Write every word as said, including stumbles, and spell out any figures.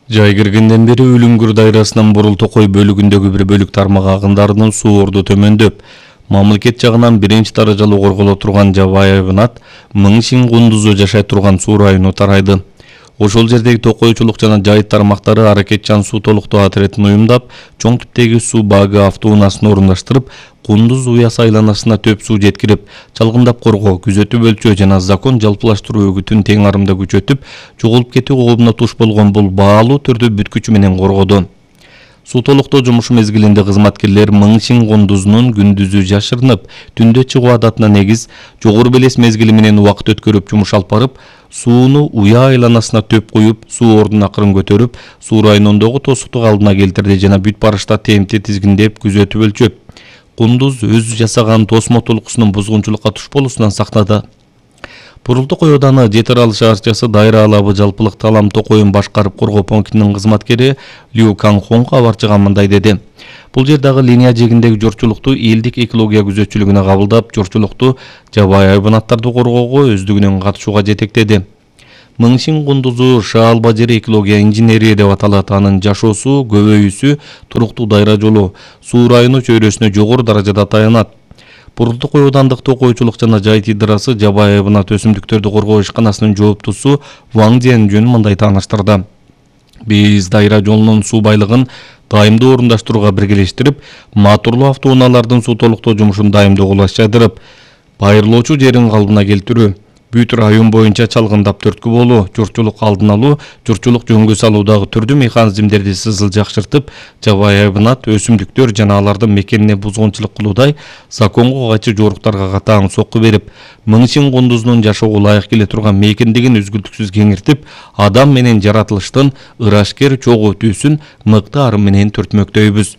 Жай киргенден бери Үлүңгүр дайрасынан Бурул Токой бөлүгүндөгү бир бөлүк тармак агындарынын суу орду төмөндөп, мамлекет жагынан биринчи даражалуу корголо турган Жабай айбынат Миң Шиң кундузу жашай турган суу району тарайды. Ошол жердеги токойчулук жана жайыт тармактары аракетчан суу толуктоо отрядын уюмдап, чоң типтеги суу багы автоунаасын орундаштырып, Кундуз уясы айланасына төп суу жеткирип, чалгындап коргоо, күзөтүп өлчөө жана закон жалпылаштыруу өгүтүн тең арымда күчөтүп, жоголуп кетүү коомуна туш болгон бул баалуу түрдү бүткүчү менен коргоду. Суу толуктоо жумушу мезгилинде кызматкерлер Миң Шиң кундузунун күндүзү жашырынып, түндө чыгуу адатына негиз жогору белес мезгили менен убакыт өткөрүп жумуш алып барып, сууну уя айланасына төп куюп, суу ордун акырын көтөрүп, суу районундогу тосуктук алдына келтирди жана бүт барышта темти тизгиндеп, күзөтүп өлчөп, Кундуз өз жасаган тосмо толкусунун бузгунчулукка туш болуусунан сактады. Бурул Токой ауданы Жетир Алы шаарчасы дайра алабы жалпылык талам Токойун башкарып коргоо пунктунун кызматкери Лю Канхон кабарчыга мындай деди. Бул жердагы линия жегиндеги жорчулукту элдик экология күзөтчүлүгүнө кабылдап, жорчулукту Жабай айбынаттарды коргоого өздүгүнүн катышууга жетектеди. Миң Шиң кундузу Шаалба жери экология инженерия деп аталат. Анын жашоосу, көбөйүүсү туруктуу дайра жолу суу району чөйрөсүнө жогору даражада таянат. Бурул Токой аудандык токойчулук жана жайыт идарасы Жабай айбынат өсүмдүктөрдү коргоо ишканасынын жооптусу Ваң Жөн мындай тааныштырды. Биз дайра жолунун суу байлыгын дайымдуу орундаштырууга биргелештирип, матурлуу автоунаалардын суу толуктоо жумушун дайымдуу колаштырып, байырлоочу жерин калыбына келтирүү, бүт район боюнча чалгындап төрткү болуу, журчулук алдын алуу, журчулук жөнгө салуудагы түрдүү механизмдерди сызыл жакшыртып, Жабай айбынат өсүмдүктөр жана алардын мекенине бузгунчулук кылуудай законго кайчы жоруктарга катаң сокку берип, Миң Шиң кундузунун жашоого ылайык келе турган мекендигин үзгүлтүксүз кеңиртип, адам менен жаратылыштын ырашкер чогуу өтүүсүн мыкты арым менен түртмөктөйбүз.